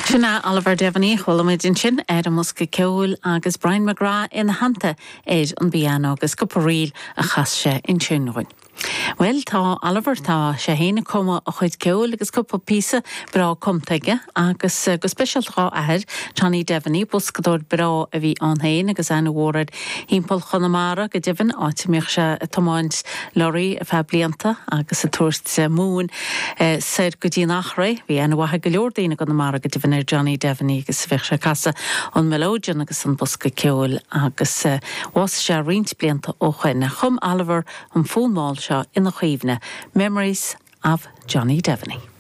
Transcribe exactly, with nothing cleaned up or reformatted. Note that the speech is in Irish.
Sin é Oliver Devaney chuala muid ansin ar an mbosca ceoil agus Brian McGrath ina theannta ar an bpianó agus cúpla ríl a chas sé ansin dúinn. Well tá Oliver tá sé féin ag cumadh a chuid ceoil agus cúpla píosa breá cumtha aige agus go speisialta dá athair Johnny Devaney boscadóir breá a bhí ann féin agus aithne mhór air timpeall Chonamara go deimhin áit a mbíodh sé ag tiomáint lorry ar feadh blianta agus ag tabhairt móin soir go dtí an Eachréidh bhí aithne mhaith ag go leor daoine Conamara go deimhin ar Johnny Devaney agus bheadh sé ag casadh an melodeon agus an bosca ceoil agus bhásaigh sé roinnt blianta ó shin chum Oliver an fonn mall seo ina chuimhne Memories of Johnny Devaney.